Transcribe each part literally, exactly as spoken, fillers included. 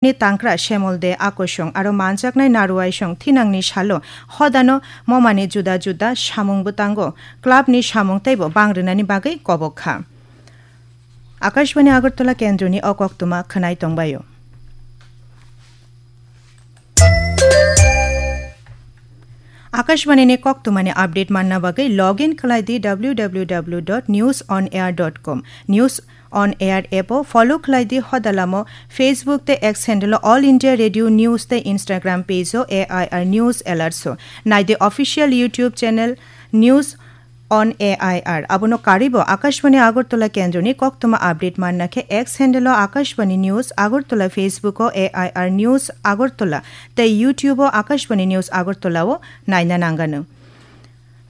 ni tangkra Shemol De Akosong aro manjaknai Naruaisong thinangni salo hodano momani juda juda samung bwtango club ni samung teibo bang rwnani bagwi kobok kha. Akashbani Agartala kendroni o koktwma khwnai tongbaio. Akashbani ni koktwmani update manna bagwi log in khlai di w w w dot news on air dot com. News on Air app o follow khlai di hodalamo Facebook tei X handle o All India Radio News tei Instagram page o A I R News Alerts o. Nai di official YouTube channel News on A I R. Abono karwi bo Akashbani Agartala kendroni koktwma update manna khe X handle o Akashbani News Agartala, Facebook o A I R News Agartala tei YouTube o Akashbani News Agartala o naina nangano.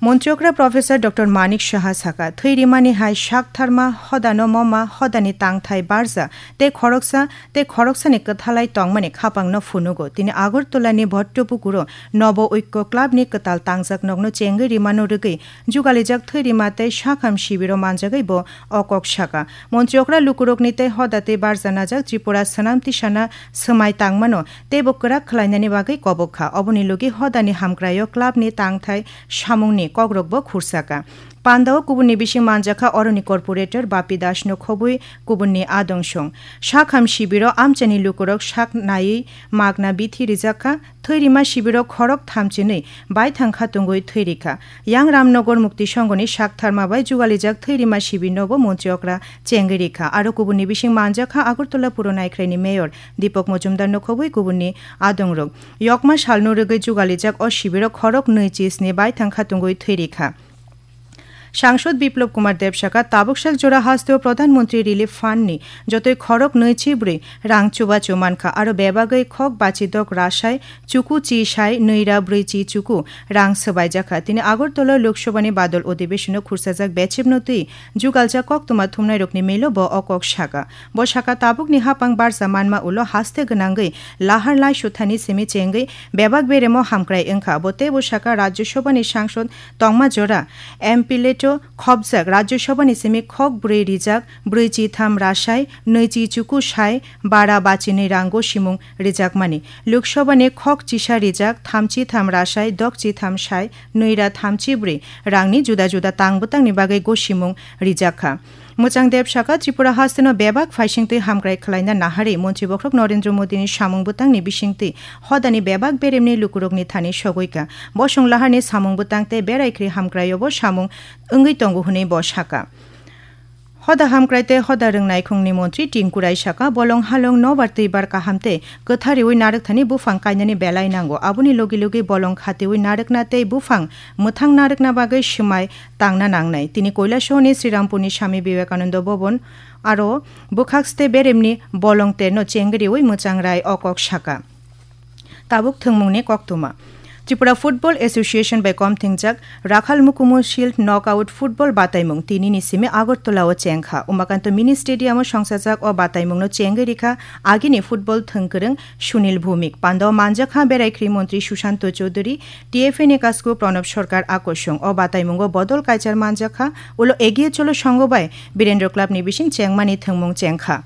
Montri okra Professor Doctor Manik Saha saka, thwi rimani hai sak tharma hodano moma hodani tangthai barja tei khoroksa tei khoroksani kwthalai tongmani khapangno phunugo. Tini Agartala ni Bhottopukuro Nobo Oikko Club ni kwtal tangjak nokno chengwi rimano rwgwi jugalijak thwi rima tei sakham sibiro manjagwi bo o kok saka. Montri okra lukurokni tei hoda tei barja najak Tripura swnam tisana swmai tangmano teibo kwrak khlainani bagwi kobok kha. Oboni logi hodani hamkraio club ni tangthai samungni kokrokbo khursaka. Pandao kubunni bising manjakha oroni corporator Bapi Dasno khobwi kubunni adong song. Sakham sibiro amchaini lukurok sak naiwi magna bithi rijakha, thwi rima sibiro khorok thamchinwi baithang kha tungwi thwi rikha. Yang Ramnagar Mukti Songhoni sak tharma bai jugalijak thwi rima sibi nobo montri okra chengwi rikha. Aro kubunni bising manjakha Agartala Puro Naikhraini mayor Deepak Majumdar no khobwi kubunni adongrok. Yokma salno rwgwi jugalijak o sibiro khorok nwi chisni baithang kha tungwi thwi rikha. Sangsod Biplab Kumar Deb saka, tabuk sak jora hasteo Pradhan Mantri Relief Fund ni jotoi khorok nwi chi bwrwi rang chubachu mankha, aro bebagwi khok bachidok rasai chuku chi sai nwi ra bwrwi chi chuku rang swbaijakha. Tini Agartala Lok Sabha ni badol odibeshono khursajak bechepno twi jugaljak koktwma thumnairokni milo bo o kok saka. Bo saka, tabukni hapang barja manma ulo haste gwnangwi lahar lai suthani simi chengwi bebak beremo hamkrai wngkha. Bo teibo saka, Rajya Sabha ni sangsod tongma jora M P leto khopjak Rajya Sabha ni simi khok bwrwi rijak bwrwi chi tham rasai nwi chi chuku sai bara bachinwi rang gosimung rijakmani. Lok Sabha ni khok chisa rijak thamchi tham rasai dok chi tham sai nwi ra thamchi bwrwi rangni juda juda tang bwtangni bagwi gosimung rijakha. Mwchang Deb saka, Tripura hasteno bebak phaisingtwi hamkrai khlaina naharwi Montri Bokhorok Narendra Modi ni samung bwtangni bisingtwi hodani bebak beremni lukurokni thani sogwi kha. Bosong laharni samung bwtang tei berai khri hamkraio bo samung wngwi tongo hwnwi bo saka. Hoda hamkrai tei hoda rwngnaikhungni montri Tinku Rai saka, bolong halong nobar twibar kaham tei kwthariwi narwkthani buphang kainani belai nango. Aboni logi logi bolong khatiwi narwkna tei buphang mwthang narwkna bagwi swmai tangna nangnai. Tini Koilasahoni Srirampurni Swami Vivekananda Bhavan aro bwkhakste beremni bolong terno chengriwi mwchang rai o kok saka. Tabuk thwngmungni koktwma. Tripura Football Association bai kom thingjak Rakhal Mukumu Shield Knockout Football bataimung tinini simi Agartala o chengkha. Umakanto Mini Stadium o songsajak o bataimungno chengwi rikha agini football thwngkwrwng Sunil Bhumik. Pandao manjakha berai khri montri Sushanto Choudhury, T F A ni kasku Pranab Sarkar akosung. O bataimungo bodol kaichar manjakha, ulo Egiye Cholo Sangho bai Birendra Club ni bising chengmani thwngmung chengkha.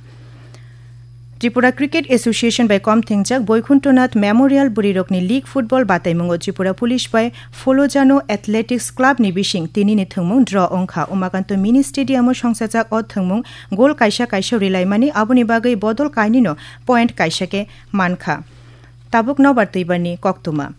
Tripura Cricket Association bai kom thingjak Boikunthnath Memorial Bwrwirokni League Football bataimungo Tripura Police bai Folojano Athletics Club ni bising tinini thwngmung draw wngkha. Umakanto Mini Stadium o songsajak o thwngmung goal kaisa kaisa rilaimani, aboni bagwi bodol kainwino point kaisa khe mankha. Tabuk nobar twibarni koktwma.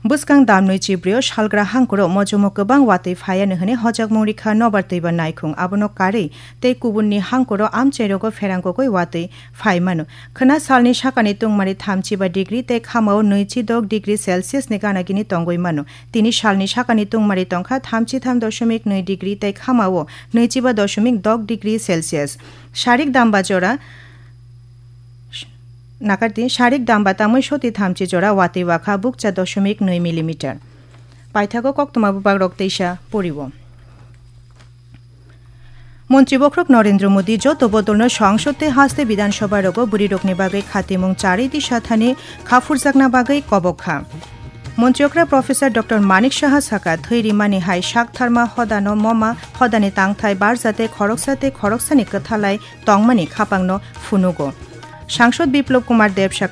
Bwskang damnwi chibrio salgra hangkuro mojomo kwbang watwi phaiya hwnwi hojakmung rikha nobar twibar naikhung. Abono karwi tei kubunni hangkuro amchairogo pherang kukui watwi phai mano. Khwna salni sakani tungmari thamchi ba degree tei khamao nwichi dok degree Celsius ni gana gini tongwi mano. Tini salni sakani tungmari tongkha thamchi tham doshomik nwi degree tei khamao nwichi ba doshomik dok degree Celsius. Sarik damba jora Nakardi, sarik damba tamwi soti thamchi jora watwi wakha bukcha doshomik nwi millimeter. Paithago koktwma bubagrok teisa poriwo. Montri Bokhorok Narendra Modi joto bodolno Sangsod tei haste Bidhan Sabha rogo bwrwirokni bagwi khatimung charwi disa thani khaphurjakna bagwi kobok kha. Montri okra Professor Doctor Manik Saha saka, thwi rimani hai sak tharma hodano moma hodani tangthai barja tei khoroksa tei khoroksani kwthalai tongmani khapangno phunugo. Sangsod Biplop Kumar Deb sakha